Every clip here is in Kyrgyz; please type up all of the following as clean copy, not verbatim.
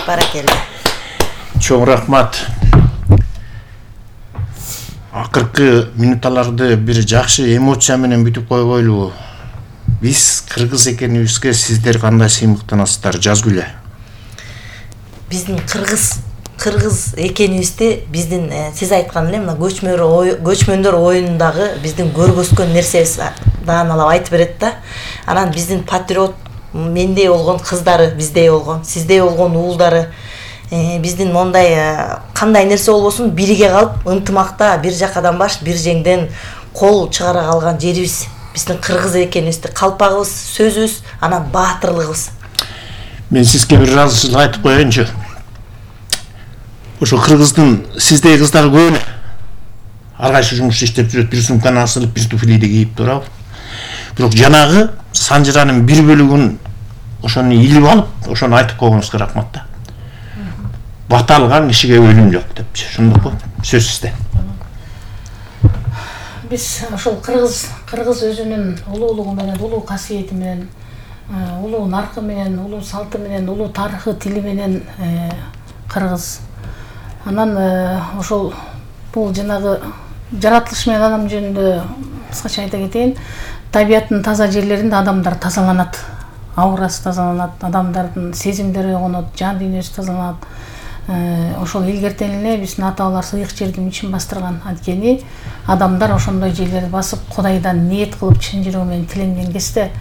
Баракелде. Чоң рахмат. Акыркы минуталарды бир жакшы эмоция менен бүтүп койгойлу. Биз кыргыз экенибизге сиздер кандай сыймыктанасыздар? Жазгүлө. Биздин кыргыз экенибизди биздин сиз айткан эле мына көчмөндөр оюнундагы биздин көргөзгөн нерсебиз дааналап айтып берет да. Анан биздин патриот мендей болгон кыздары, биздей болгон, сиздей болгон уулдары биздин мондай кандай нерсе болбосун бириге калып ынтымакта бир жакадан баш бир жеңден кол чыгара калган жерибиз. Биздин кыргыз экенибизди калпагыбыз, сөзүбүз, анан баатырлыгыбыз. Мен сизге бир разычылык айтып коеюнчу. Ошо кыргыздын сиздей кыздары көп эле. Ар кайсы жумушта иштеп жүрөт, бир сумканы асылып, бир туфлиди кийип турабы. Бирок жанагы санжыранын бир бөлүгүн ошону илип алып, ошону айтып койгонуңузга рахмат да. Бата алган кишиге өлүм жок депчи. Ошондойбу? Сөз сизде. Биз ошол кыргыз өзүнүн улуулугу менен, улуу касиети менен, улуу наркы менен, улуу салты менен, улуу тарыхы, тили менен кыргыз. Анан ошол бул жанагы жаратылыш менен адам жөнүндө кыскача айта кетейин, табияттын таза жерлеринде адамдар тазаланат, аурасы тазаланат, адамдардын сезимдери ойгонот, жан дүйнөсү тазаланат. Ошол илгертен эле биздин ата-бабалар сыйык жерди мичин бастырган. Анткени адамдар ошондой жерлерди басып, Кудайдан ниет кылып чын жүрөгү менен тиленген кезде,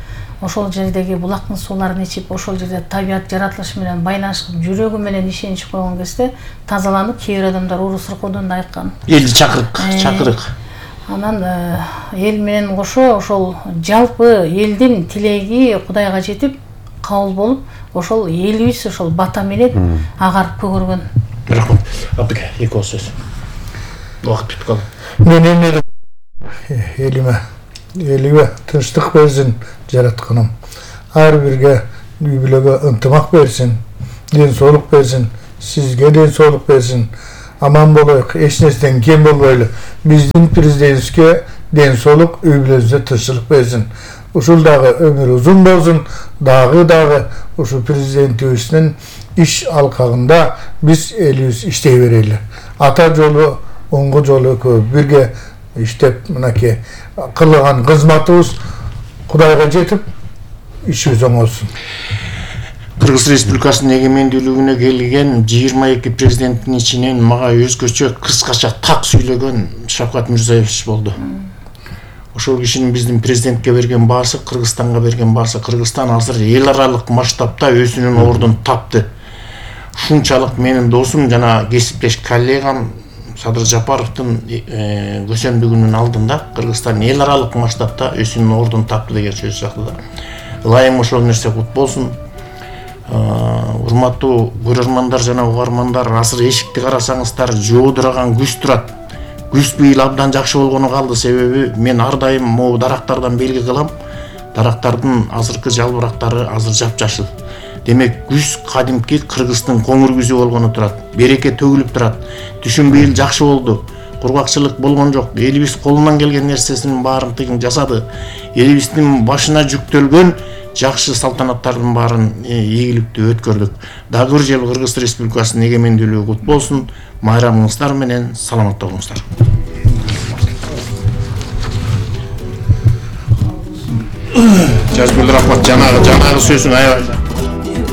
ошол жердеги булактын сууларын ичип, ошол жерде табият жаратылыш менен байланышып, жүрөгү менен ишенич койгон кезде тазаланып, кээ бир адамдар уруу сыркоодон да айткан. Элди чакырык. Анан эл менен кошо ошол жалпы элдин тилеги Кудайга жетип, кабыл болуп, ошол элибиз ошол бата менен агарып көгөргөн. Рахмат. Абдыка, эки ооз сөз. Убакыт бүтүп калды. Мен элиме тынчтык берсин жаратканым. Ар бирге үй бүлөгө ынтымак берсин, ден соолук берсин, сизге ден соолук берсин. Аман болоюк, эч нерседен кем болбойлу. Биздин президентибизге ден соолук, үй бүлөбүзгө тынчтык берсин. Ушул дагы өмүрү узун болсун, дагы ушу президентибиздин иш алкагында биз элибиз иштей берели. Ата жолу, оңго жолу экөө бирге иштеп, мынакей кылган кызматыбыз Кудайга жетип, ишибиз оңолсун. Кыргыз Республикасынын эгемендүүлүгүнө келген 22 президенттин ичинен мага өзгөчө кыскача так сүйлөгөн Шавкат Мирзиёевич болду. Ошол кишинин биздин президентке берген баасы, Кыргызстанга берген баасы, Кыргызстан азыр эл аралык масштабта өзүнүн ордун тапты. Ушунчалык менин досум жана кесиптеш коллегам Садыр Жапаровдун көсөмдүгүнүн алдында Кыргызстан эл аралык масштабта өзүнүн ордун тапты деген сөз жакты да. Ылайым ошол нерсе кут болсун. Урматтуу көрөрмандар жана угармандар, азыр эшикти карасаңыздар жоодураган күз турат. Күз быйыл абдан жакшы болгону калды, себеби мен ар дайым могу дарактардан белги кылам. Дарактардын азыркы жалбырактары азыр жапжашыл. Демек, күз кадимки Кыргыздын коңур күзү болгону турат. Береке төгүлүп турат. Түшүм быйыл жакшы болду. Кургакчылык болгон жок. Элибиз колунан келген нерсесинин баарын тыйын жасады. Элибиздин башына жүктөлгөн жакшы салтанаттардын баарын ийгиликтүү өткөрдүк. Дагы бир жыл Кыргыз Республикасынын эгемендүүлүгү кут болсун. Майрамыңыздар менен саламатта болуңуздар. Жазгүл рахмат, жанагы сөзүң аябай